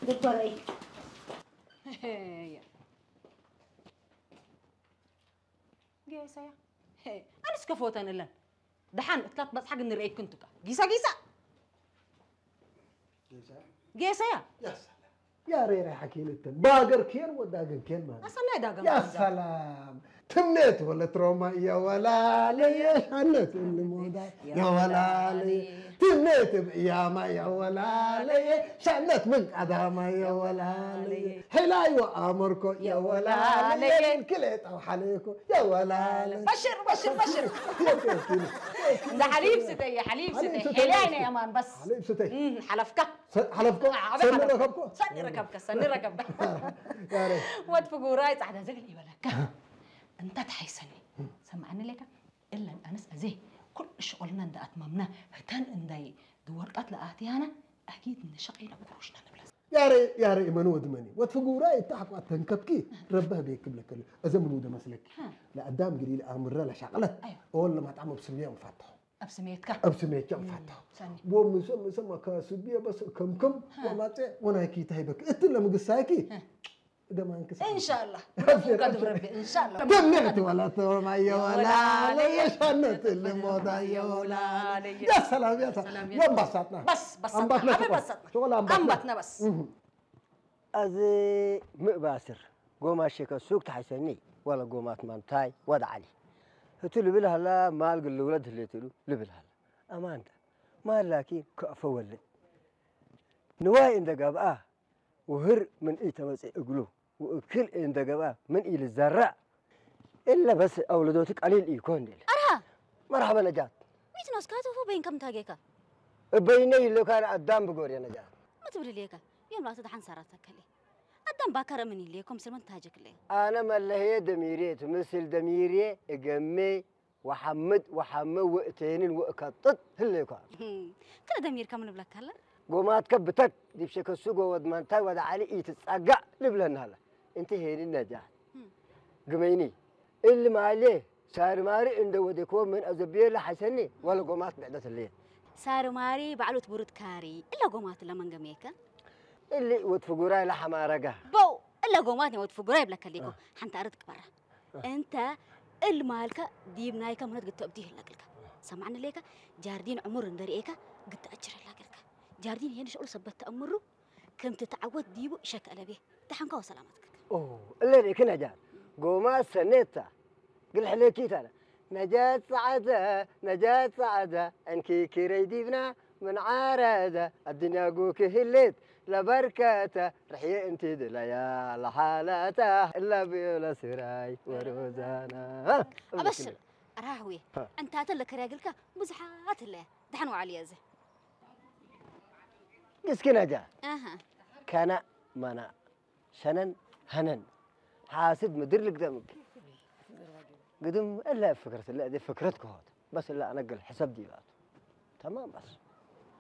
ዶክተረይ። ጌሰያ። ኣነስ ከፈወተን እለን። ደሓን እትላት በጽሓ ግን ንርእየክን ትካ። ጊሳ ጊሳ። ጌሰያ። ጌሰያ። ያሬራ ሓኪልተን ባገር ኬን ወዳገን ኬን ማለት ኣሰናይ ዳገም። ያ ሰላም። ትምኔት ወለት ሮማ የወላለየ ሻነት እንሞዳ የወላለየ ትምኔት ብእያማ የወላለየ ሻነት ምን ቀዳማ የወላለየ ሄላይዋ ኣመርኮ የወላለየ ክሌጣው ሓለኮ የወላለየ በሽር በሽር በሽር። ሓሊብ ስተየ ሓሊብ ስተየ ሄላይ ናይ ኣማን በስ ሓሊብ ስተየ ሓለፍካ። ሰ- ሓለፍኮ ኣበይ ሰኒ ሓለፍካ? ረከብኮ ሰኒ ረከብካ ሰኒ ረከብካ። ያሬ ወድ ፍጉራይ ጻዕዳ ዘግል ይበለካ። እንታ ተሓይሰኒ ሰማዕኒ ሌካ እለን ኣነስ ኣዜ ኩሉ ሽቆልና እንዳ ኣትማምና ህተን እንዳይ ድወርቃት ለኣትያና ኣኪድ ንሸቀይና ብቁሩሽና ንብላ። ያሬ ያሬ መን ወድ መኒ ወትፍጉራ ይታሕቋት ተንከብኪ ረበህ ቤክ ብለከል እዘ ምን ወደ መስለኪ ለአዳም ግዲ ለአምረ ለሻቅለት أيوة. እወን ለማጣም ብስብያ ንፋትሖ ኣብ ስሜትካ ኣብ ስሜትካ ንፋትሖ ሰኒ ወምሰ ምሰ ማካ ስብያ በስ ከምከም ወማፀ ወናይኪ ታይበክ እትን ለምግሳይኪ ደማንክ እንሻላ ቀድም ረቢ እንሻላ ደምዕት ወላ ተወማየ ወላ ለየሻነት ልሞዳ የወላ ያ ሰላም ያ ሰላም ያ። የንባሳትና በስ በሳትና ኣንባትና ኣበ ሽቆል። በሳትና ሽቆል ኣንባትና። ኣንባትና በስ እህ። ኣዚ ምእባስር ጎማት ሸከ ሱቅ ተሓይሰኒ ወለ ጎማት ማንታይ ወደ ዓሊ ህቱ ልብል ሃላ ማል ግልውለት ህሌትሉ ልብል ሃላ ኣማንታ ማል ላኪን ከእፈ ወልድ ንዋይ እንደ ገብኣ ውህር ምን ኢተመጽእ እግሉ ውእክል እንደ ገብኣ ምን ኢልዘራእ እለ በስ ኣውለዶቱ ቀሊል ኢኮን ድል ኣርሃ መርሓበ ነጃት ዊትኖስ ካተፎ በይን ከም ታጌካ እበይነ ይልካን ኣዳም ብጎርየ ነጃት መትብል ልየካ ዮም ላቱ ደሓን ሰራት ተከሊ ኣዳም ባከረ ምን ይልየ ኮምስል ምን ታጀክለ ኣነ መለህየ ደሚርየ ትምስል ደሚርየ እገሜ ወሓምድ ወሓመ ወእቴንን ወእከጥጥ ህለይኳ ከለ ደሚርካ ምን ብለካ ኣለ ጎማትከ ብተክ ዲብ ሸከሱ ጎወድ ማንታይ ወደ ዓሊ ኢትጻጋዕ ልብለና ኣለ እንቲ ሄኒ ነጃት ግመይኒ እሊ ማሌ ሳርማሪ እንደ ወደኮ ምን ኣዘብየ ለሓይሰኒ ወለ ጎማት ብዕደት ህለየ ሳርማሪ ባዕሉት ቡሩት ካሪ እለ ጎማት ለመንገሜከ እሊ ወትፍጉራይ ለሐማረጋ በው እለ ጎማት ወትፍጉራይ ብለከሊኮ ሓንቲ ኣረት ቅበራ እንተ እል ማልከ ዲብ ናይከ ምነት ግተብቲ ይህለቅልከ ሰማዕኒ ሌከ ጃርዲን ዕሙር እንደርኤከ ግተአጅር ህላገልከ ጃርዲን ይሄን ሸቅሉ ሰበት ተእምሩ ከም ትተዓወት ዲቡ ሸከ ለቤ ደሓንካ ወሰላማትከ ኦ እለ ርኢክ ነጃት ጎማ ሰኔታ ግልሕለኪ ታለ ነጃት ጸዓተ ነጃት ጸዓተ ዕንኪ ክረይ ዲብና ምን ዓረደ ኣድንያ ጉክ ህሌት ለበርከተ ርሕየ እንቲ ድለያ ለሓላታ እላ ብዮላ ስራይ ወሮዛና ኣበሽር ራህዌ እንታተ ለከርያግልካ ብዙሓት ህለያ ደሓን ዋዕል እየ እዚ ግስኪ ነጃ ኣሃ ከና መና ሸነን ሀነን ሓስድ ምድር ልግደምክ ግድም እለ ፍክረት እለ እደ ፍክረት ክሆት በስ እለ ኣነግል ሕሰብ ዲባቱ ተማም በስ